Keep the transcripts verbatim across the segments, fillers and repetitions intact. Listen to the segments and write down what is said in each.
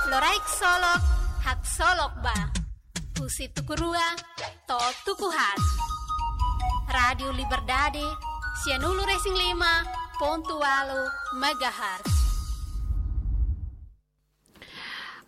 Loraik Solok, Haksolok Ba. Husi tuku rua to'o tuku haat. Rádiu Liberdade, sianulu-resin-lima pontu ualu megahertz.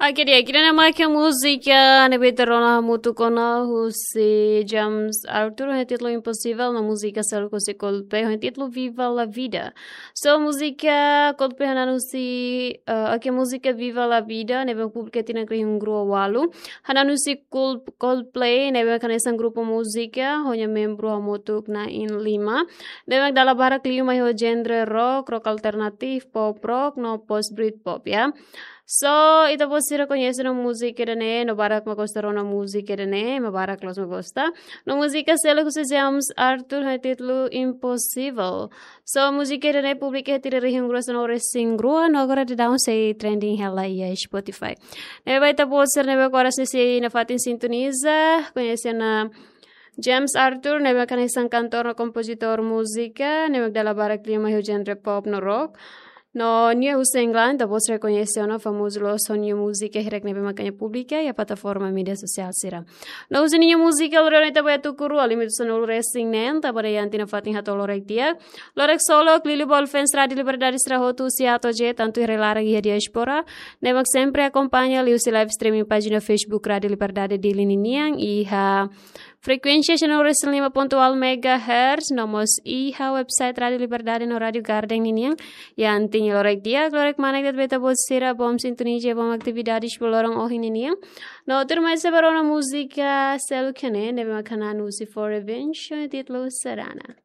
Oke, di'ak, ida-ne'e mak múzika ne'ebé ita rona hamutuk ona husi James Arthur, ho títulu Impossível, no múzika seluk husi Coldplay, ho títulu Viva la Vida. So, múzika Coldplay hananusi, eh, oke, múzika Viva la Vida ne'ebé publika tinan rihun rua ualu. Hananusi Cold-, Coldplay ne'ebé hanesan grupu múzika ho nia membru hamutuk na'in lima. Ne'ebé dala barak liu mai ho genre rock, rock alternatif, pop rock, no post Britpop, ya. So, ita-boot sira koñese ona múzika ida-ne'e, no barak mak gosta rona múzika ida-ne'e, mak barak loos mak gosta. No múzika seluk husi James Arthur ho títulu Impossível. So, múzika ida-ne'e publika tinan rihun rua sanulu-resin-rua, no agora daudaun sei trending hela iha Spotify. Ne'ebé ita-boot sira ne'ebé oras ne'e sei nafatin sintoniza, koñese ona James Arthur, ne'ebé hanesan kantór no kompozitór múzika, ne'ebé dala barak liu mai ho genre pop no rock. No nia husi England, ita-boot sira koñese ona, famozu loos ho nia múzika hirak ne'ebé mak nia publika iha plataforma média sosiál sira. No husi nia múzika loron ita ba iha tuku rua, limitu sanulu-resin-neen, tanba ida-ne'e ita nafatin hato'o loraik di'ak. Loraik Solok, liuliu ba fans Rádiu Liberdade sira hotu, husi A to'o Z, tantu iha rai-laran iha diáspora. Ne'ebé sempre akompaña liuhusi live streaming pájina Facebook Rádiu Liberdade Dili ninian, iha frekuénsia sianulu-resin-lima pontu ualu megahertz, no mós iha website Rádiu Liberdade no Rádiu Garden ninian. Entaun loraik di'ak, loraik manek de'it ba ita-boot sira, bom sintoniza, bom atividades ba loron ohin ninian. No tuirmai sei ba rona múzika seluk iha ne'e, ne'ebé mak hananusi For Revenge, ho títulu Serana.